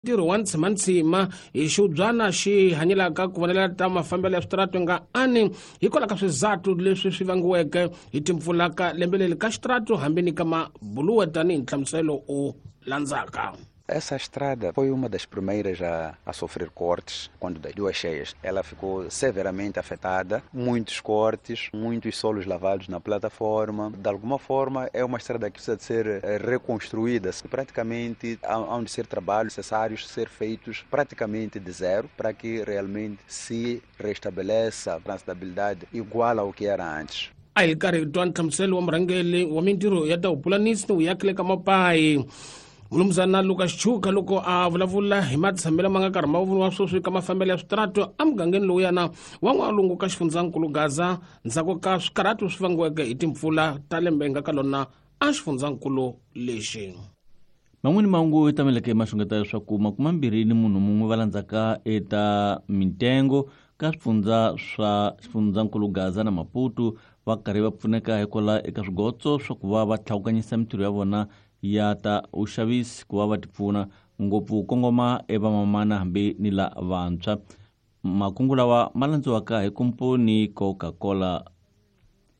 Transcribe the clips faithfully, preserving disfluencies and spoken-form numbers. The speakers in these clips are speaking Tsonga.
Ntirho wa ntsimantsima hi xiubyana xi hanyelaka ku vonela ta mafambelo ya switaratu nga ani hikwalaho ka swizathu leswi swi vangiweke hi timpfula ka lembe leri ka xitaratu hambi ni ka mabuluwe tanihi nhlamuselo o landzaka. Essa estrada foi uma das primeiras a, a sofrer cortes quando das duas cheias. Ela ficou severamente afetada, muitos cortes, muitos solos lavados na plataforma. De alguma forma, é uma estrada que precisa de ser reconstruída. Praticamente, há de ser trabalhos necessários ser feitos praticamente de zero para que realmente se restabeleça a transitabilidade igual ao que era antes. A hi karhi hi twa nhlamuselo wa murhangeri wa mintirho ya ta vupulanisi ni vuyakile ka mapayi Mulumuzana Lucas Chuka loko a vulavula hi matshamelo ma nga karhi ma vuriwa sweswi ka mafambelo ya switaratu emugangeni lowuyana wa n'walungu ka xifundzankulu Gaza ndzhaku ka swikarhatu swi vangiweke hi timpfula ta lembe nga ka lona a xifundzankulu lexi. Man'wani mahungu tameleke ma xungeta leswaku makume mambirhi ni munhu mun'we va landzaka eta mintengo ka swifundza swa xifundzankulu Gaza na Maputo va karhi va pfuneka hikwalaho eka swigotso swa ku va va tlhawukanyisa mintirho ya vona ya ta uxavisi ku va va tipfuna ngopfu kongoma evamamana hambi ni la vantshwa. Makungu lawa ma landziwaka hi komponi Coca-Cola.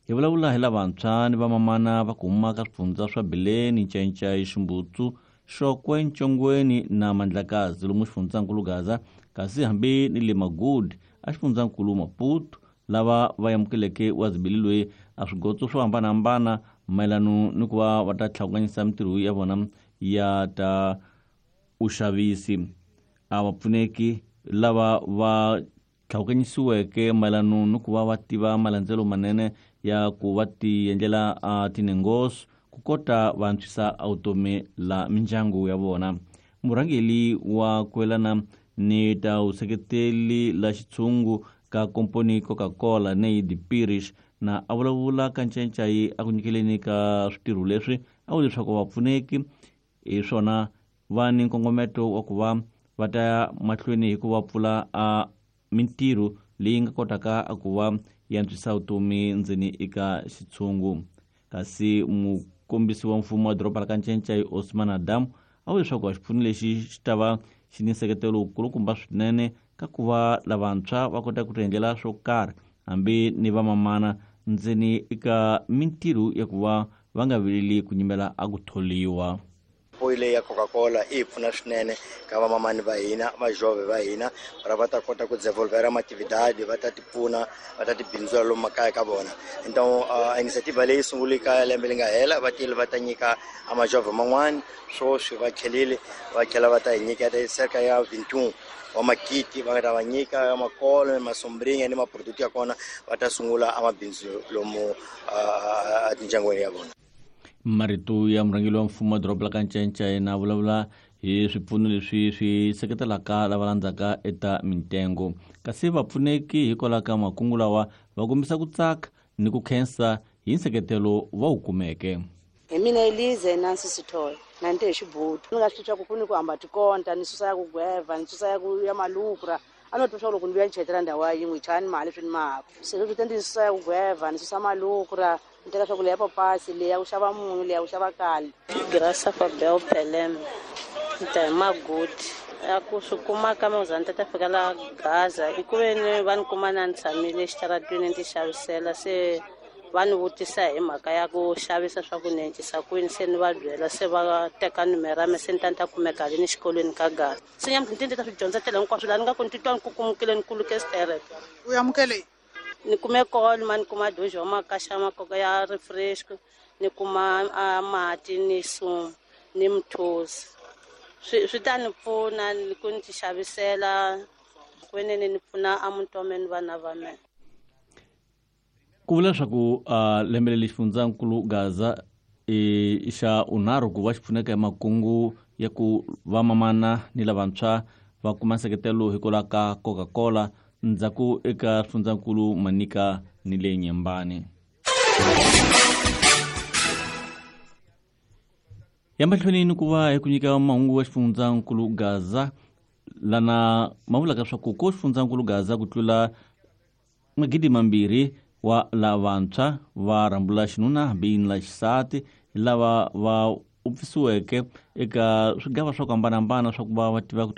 Hi vulavula hi lavantshwa ni vamamana va ku huma ka swifundza swa Bileni, Ncayincai, Ximbutsu, Xokwe, Ncongweni na Mandlakazi lomu xifundzankulu Gaza, kasi hambi ni le Magudi a xifundzankulu Maputo, lava va amukeleke wazibili loyi a swigotso swo hambanahambana mayelana ni ku va va ta tlhawukanyisa mintirho ya vona ya ta uxavisi. A va pfuneki lava va tlhawukanyisiweke mayelana ni ku va va tiva malandzelo manene ya ku va ti endlela a tinengoso ku kota va antswisa vutomi la mindyangu ya vona. Murhangeri wa kwelana ni ta vuseketeli la xitshungu ka komponi Coca-Cola Neidi Pirish na a vulavula ka Ncayincai a ku nyikeleni ka switirho leswi a vula leswaku vapfuneki hi swona va ni nkongometo wa ku va va ta ya mahlweni hi ku va pfula a mintirho leyi nga kotaka a ku va yi antswisa vutomi ndzeni eka xitshungu. Kasi mukombisi wa mfumo wa doroba ra ka Ncayincai Osman Adam a vula leswaku xipfuno lexi xi ta va xi ni nseketelo wukulukumba swinene ka ku va lavantshwa va kota ku tiendlela swo karhi hambi ni vamamana ndzeni eka mintirho ya ku va va nga vileli ku nyimela a ku tholiwa. Apoio leyi ya Coca-Cola yi pfuna swinene ka vamamani va hina, vajove va hina, ra va ta kota ku desenvolver ma atividade, va ta ti pfuna, va ta ti bindzula lomu makaya ka vona. Então a iniciativa leyi sungule ka lembe leri nga hela, va tile va ta nyika a majove man'wani, swoswi va tlhelile va tlhela va ta hi nyika cerca ya vinte e um wa makiti va nga ta va nyika ya makolo, masombrinha ni maproduto ya kona, va ta sungula a mabindzu lomu a tindyangwini ya vona. Marito ya murhangeri wa mfumo wa doroba ra ka Ncayincai na vulavula hi swipfuno leswi swi seketelaka lava landzaka eta mintengo. Kasi vapfuneki hikwalaho ka makungu lawa va kombisa ku tsaka ni ku khensa hi nseketelo va wu kumeke. Hi mina Elize Nancy Sithole na nte hi xibutu ni nga swi twa ku ku ni ku hamba tikonta ni susa ya ku gweva ni susa ya ku ya malukra a no twa loko ni vuya ni chetela ndhawu ya yin'we chani mali swi ni maka se leswi te ndzi susa ya ku gweva ni susa malukra ni teka swa ku leya papasi leya ku xava munyu leya ku xava kali. Graça Fabel Pelem ni ta hi Magudi a ku swi kuma ka me ta ta fika la Gaza i ku ve ni va ni kuma na ni tshamile exitaratwini ni ti xavisela se va ni vutisa hi mhaka ya ku xavisa swa ku ni encisa kwini se ni va byela se va teka numero ya me se ni ta ni ta kumeka le ni xikolweni ka Gaza se nyamuntlha ni ti ni ta swi dyondzatela hinkwaswo laha ni nga ku ni titwa ni kukumukile ni kuluke xitereke. U amukele ni kume kolo ma ni kuma doji wa makaxa makoka ya refresh ni kuma a mati ni sumu ni mthosi swi swi ta ni pfuna ku ni ti xavisela kwenene ni pfuna a muti wa mina ni vana va mina. Ku vula leswaku uh, lembe leri xifundzankulu Gaza i xa unharhu ku va xi pfuneka hi makungu ya ku vamamana ni lavantshwa va kuma nseketelo hikwalaho ka Coca-Cola ndzhaku eka xifundzankulu Manika ni le Nyembani. Ya mahlweni ni ku va hi ku nyika mahungu wa xifundzankulu Gaza lana ma vulaka leswaku ko xifundzankulu Gaza ku tlula magidi mambirhi wa lavantshwa va rhambula xinuna hambi ni la xisati lava va u pfisiweke eka swigava swa ku hambanahambana swa ku va va tiva ku